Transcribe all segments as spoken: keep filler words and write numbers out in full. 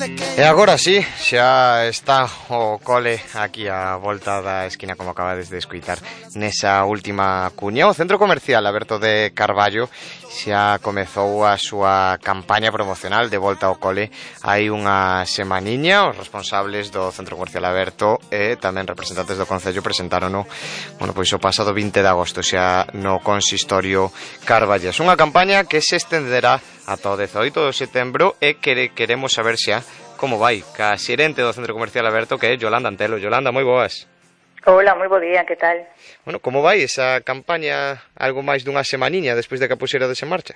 E agora sí, xa está o cole aquí á volta da esquina, como acabades de escuitar nesa última cuña. O Centro Comercial Aberto de Carballo xa comezou a súa campaña promocional de volta ao cole hai unha semaniña. Os responsables do Centro Comercial Aberto e tamén representantes do Concello presentárono, bueno, pois o pasado vinte de agosto xa no Consistorio Carballas. Unha campaña que se estenderá ata o dezaoito de setembro e que queremos saber xa como vai ca xerente do Centro Comercial Aberto, que é Yolanda Antelo. Yolanda, moi boas. Hola, moi bo día, que tal? Bueno, como vai esa campaña algo máis dunha semaniña despois de que a puxerades en marcha?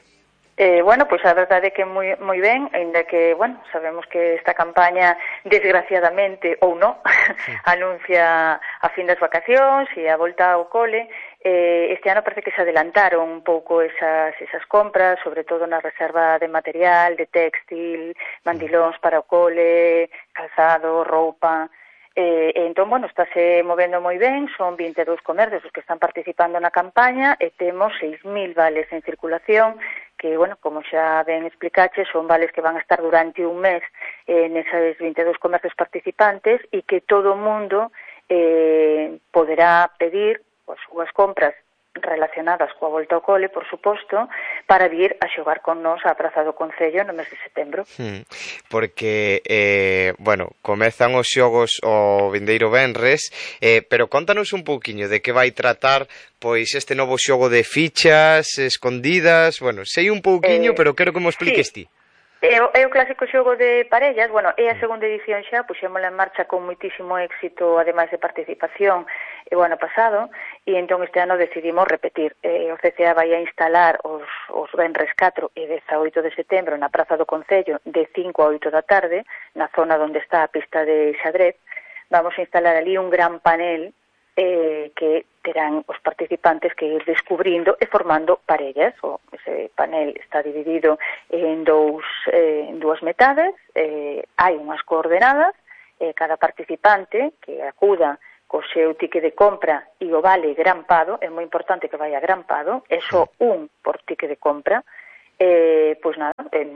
Eh, bueno, pois pues a verdade é que moi moi ben, aínda que, bueno, sabemos que esta campaña, desgraciadamente, ou non, sí. anuncia a fin das vacacións e a volta ao cole. Eh, este ano parece que se adelantaron un pouco esas, esas compras, sobre todo na reserva de material, de textil, mandilóns para o cole, calzado, roupa. Eh, e entón, bueno, estáse movendo moi ben, son vinte e dous comercios os que están participando na campaña e temos seis mil vales en circulación, que, bueno, como xa ben explicache, son vales que van a estar durante un mes eh, neses vinte e dous comercios participantes e que todo o mundo eh, poderá pedir as súas compras relacionadas coa volta ao cole, por suposto, para vir a xogar con nós á Praza do Concello no mes de setembro. Hmm, porque, eh, bueno, comezan os xogos o vindeiro venres, eh, pero contanos un pouquiño de que vai tratar pois este novo xogo de fichas escondidas. Bueno, sei un pouquiño, eh, pero quero que me expliques sí. ti. É o, é o clásico xogo de parellas, bueno, é a segunda edición xa, puxémola en marcha con moitísimo éxito, ademais de participación, e o ano pasado, e entón este ano decidimos repetir. Eh, o C C A vai a instalar os, os venres catro e dezaoito de setembro na Praza do Concello de cinco a oito da tarde, na zona onde está a pista de xadrez. Vamos a instalar ali un gran panel eh, que terán os participantes que ir descubrindo e formando parellas. O, ese panel está dividido en dous eh, en dúas metades, eh, hai unhas coordenadas, eh, cada participante que acuda co seu tique de compra e o vale grampado, é moi importante que vaya grampado, é só un por tique de compra. Eh, pois nada, eh,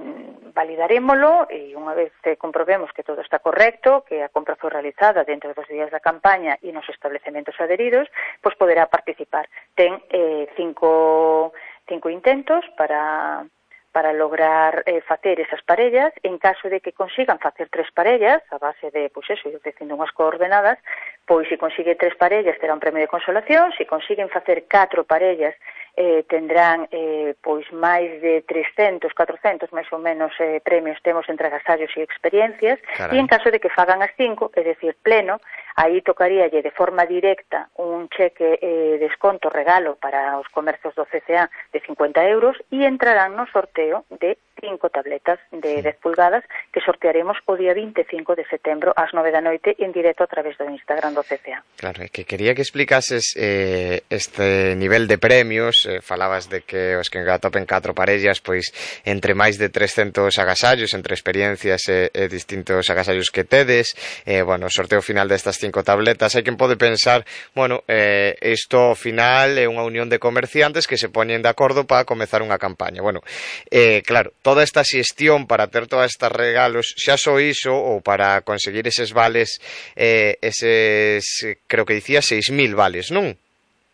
validarémolo e unha vez eh, comprobemos que todo está correcto, que a compra foi realizada dentro dos días da campaña e nos establecementos adheridos, pois poderá participar. Ten eh, cinco, cinco intentos para, para lograr eh, facer esas parellas. En caso de que consigan facer tres parellas, a base de, pois eso, ir dicindo unhas coordenadas, pois se consigue tres parellas terá un premio de consolación, se consiguen facer catro parellas Eh, tendrán eh, pois máis de trescentos, catrocentos máis ou menos eh, premios temos entre agasallos e experiencias. Carai. E en caso de que fagan as cinco, é dicir, pleno, aí tocaríalle de forma directa un cheque eh, desconto regalo para os comercios do C C A de cincuenta euros e entrarán no sorteo de cinco tabletas de sí. dez pulgadas que sortearemos o día vinte e cinco de setembro ás nove da noite en directo a través do Instagram do C C A. Claro, é que quería que explicases eh, este nivel de premios. Eh, falabas de que os que atopen catro parellas, pois entre máis de trescentos agasallos, entre experiencias e, e distintos agasallos que tedes, eh, bueno, o sorteo final destas cinco tabletas. Hai quen pode pensar, bueno, eh, isto ao final é unha unión de comerciantes que se poñen de acordo para comezar unha campaña. Bueno, eh, claro, toda esta xestión para ter todas estas regalos, xa só iso, ou para conseguir eses vales, eh, eses, creo que dicía, seis mil vales, non?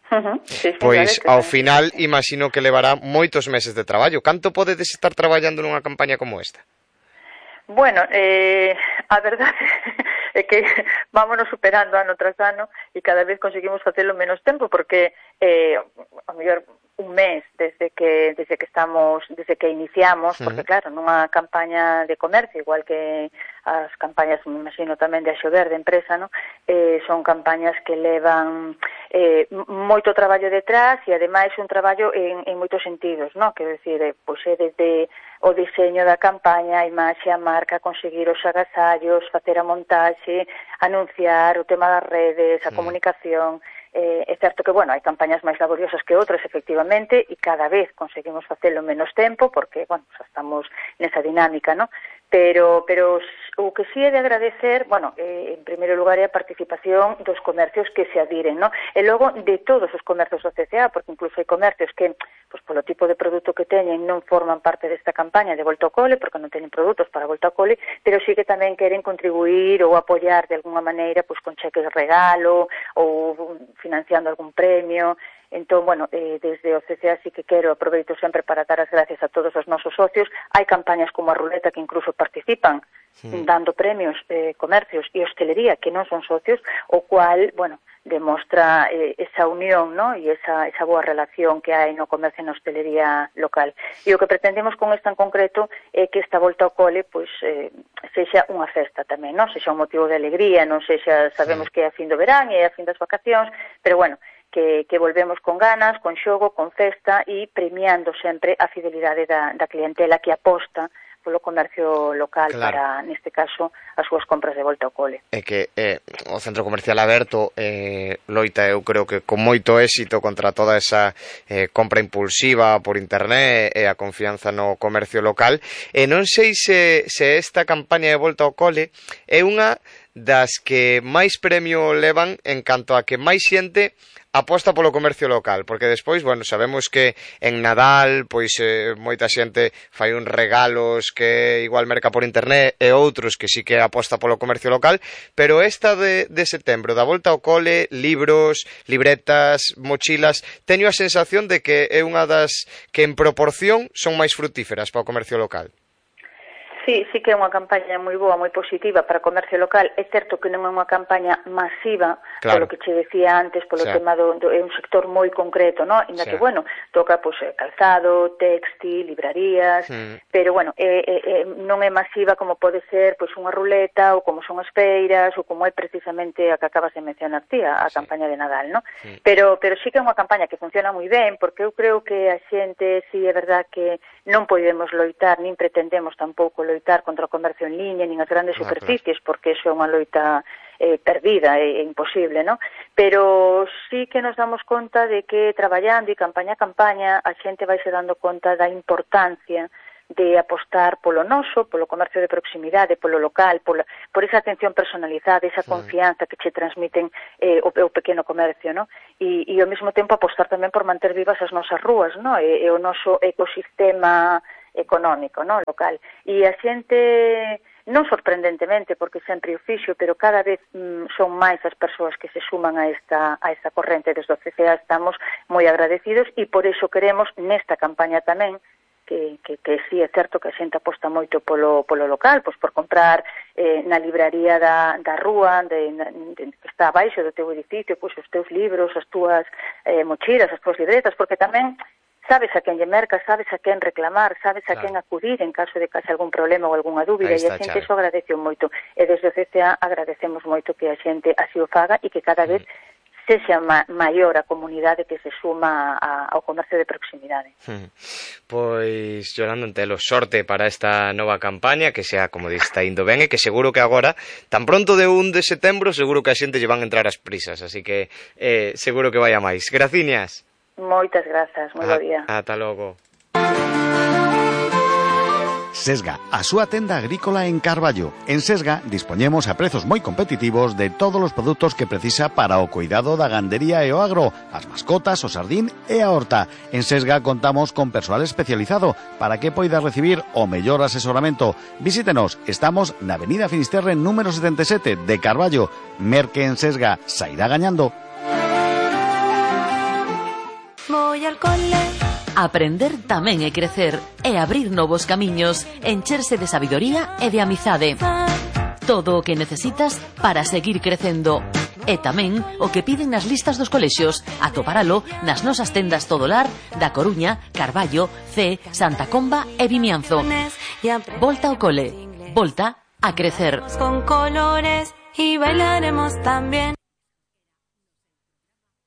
Uh-huh. Sí, Pois ao final imagino que levará moitos meses de traballo. Canto podedes estar traballando nunha campaña como esta? Bueno, eh, a verdade é que vámonos superando ano tras ano e cada vez conseguimos facelo menos tempo porque eh, a mellor un mes desde que desde que estamos desde que iniciamos, porque claro, nunha campaña de comercio, igual que as campañas, me imagino tamén de Axover, de empresa, no? Eh, son campañas que levan eh, moito traballo detrás e ademais un traballo en, en moitos sentidos, no? Quero dicir, eh, pois é desde o diseño da campaña, a imaxe, a marca, conseguir os agasallos, facer a montaxe, anunciar o tema das redes, a sí. comunicación. Eh, é certo que, bueno, hai campañas máis laboriosas que outras, efectivamente, e cada vez conseguimos facelo menos tempo, porque, bueno, xa estamos nesa dinámica, ¿no? pero pero o que sí é de agradecer, bueno, eh, en primeiro lugar é a participación dos comercios que se adhiren, ¿no? E logo de todos os comercios do C C A, porque incluso hai comercios que, pues, polo tipo de produto que teñen, non forman parte desta campaña de Volta ao Cole, porque non teñen produtos para Volta ao Cole, pero sí que tamén queren contribuir ou apoiar de alguna maneira, pues, con cheques de regalo ou financiando algún premio. Entón, bueno, eh, desde o C C A sí que quero, aproveito sempre para dar as gracias a todos os nosos socios. Hai campañas como a Ruleta que incluso participan sí. dando premios eh, comercios e hostelería que non son socios, o cual, bueno, demostra eh, esa unión, ¿no? E esa, esa boa relación que hai no comercio e na hostelería local. E o que pretendemos con esta en concreto é que esta volta ao cole, pois, eh, sexa unha festa tamén, non? Sexa un motivo de alegría, non sexa, sabemos sí. que é a fin do verán e é a fin das vacacións, pero bueno, que, que volvemos con ganas, con xogo, con festa e premiando sempre a fidelidade da, da clientela que aposta polo comercio local claro. para, neste caso, as súas compras de volta ao cole. É que eh, o Centro Comercial Aberto eh, loita, eu creo que con moito éxito contra toda esa eh, compra impulsiva por internet e a confianza no comercio local, e non sei se, se esta campaña de volta ao cole é unha das que máis premio levan en canto a que máis xente aposta polo comercio local, porque despois, bueno, sabemos que en Nadal, pois eh, moita xente fai uns regalos que igual merca por internet e outros que sí que aposta polo comercio local, pero esta de, de setembro, da volta ao cole, libros, libretas, mochilas, teño a sensación de que é unha das que en proporción son máis frutíferas para o comercio local. Sí, sí que é unha campaña moi boa, moi positiva para o comercio local. É certo que non é unha campaña masiva, claro. polo que che decía antes, polo sí. tema do, do é un sector moi concreto, ¿no? Inda sí. que, bueno, toca pues, calzado, textil, librarías, mm. pero, bueno, é, é, non é masiva como pode ser pues, unha ruleta ou como son as feiras ou como é precisamente a que acabas de mencionar ti, a, a sí. campaña de Nadal, ¿no? Sí. Pero, pero sí que é unha campaña que funciona moi ben, porque eu creo que a xente, sí, é verdad que non podemos loitar, nin pretendemos tampouco loitar contra o comercio en liña, nin as grandes no, superficies, claro. porque iso é unha loita eh, perdida, é, é imposible, ¿no? Pero sí que nos damos conta de que traballando e campaña a campaña a xente vai se dando conta da importancia de apostar polo noso, polo comercio de proximidade, polo local, polo, por esa atención personalizada, esa sí. confianza que che transmiten eh, o, o pequeno comercio, ¿no? E, e ao mesmo tempo apostar tamén por manter vivas as nosas rúas, ¿no? E, e o noso ecosistema económico, ¿no? Local. E a xente, non sorprendentemente, porque sempre o fixo, pero cada vez mm, son máis as persoas que se suman a esta, a esta corrente. Desde o C C A estamos moi agradecidos e por iso queremos nesta campaña tamén que, que, que sí é certo que a xente aposta moito polo, polo local, pois por comprar eh, na libraría da, da rúa de, de, que está abaixo do teu edificio, pois os teus libros, as túas eh, mochilas, as túas libretas, porque tamén sabes a quen lle merca, sabes a quen reclamar, sabes a claro. quen acudir en caso de que haxe algún problema ou algunha dúbida, e a xente iso agradece moito. E desde o C C A agradecemos moito que a xente así o faga e que cada vez mm. sexa ma maior a comunidade que se suma a, ao comercio de proximidade. Mm. Pois, Yolanda Antelo, sorte para esta nova campaña, que sea, como diz, está indo ben, e que seguro que agora, tan pronto de un de setembro, seguro que a xente lle van entrar as prisas, así que eh, seguro que vai a máis. Graciñas. Moitas grazas, moi bo día. Ata logo. Sesga, a súa tenda agrícola en Carballo. En Sesga dispoñemos a prezos moi competitivos de todos os produtos que precisa para o cuidado da gandería e o agro, as mascotas, o sardín e a horta. En Sesga contamos con persoal especializado para que poida recibir o mellor asesoramento. Visítenos, estamos na Avenida Finisterre número setenta e sete de Carballo. Merque en Sesga, sairá gañando. Voy al cole. Aprender tamén é crecer, é abrir novos camiños, encherse de sabidoría e de amizade. Todo o que necesitas para seguir crecendo. E tamén o que piden nas listas dos colexios, atopáralo nas nosas tendas Todolar da Coruña, Carballo, Cee, Santa Comba e Vimianzo. Volta ao cole, volta a crecer. Con colores y bailaremos también.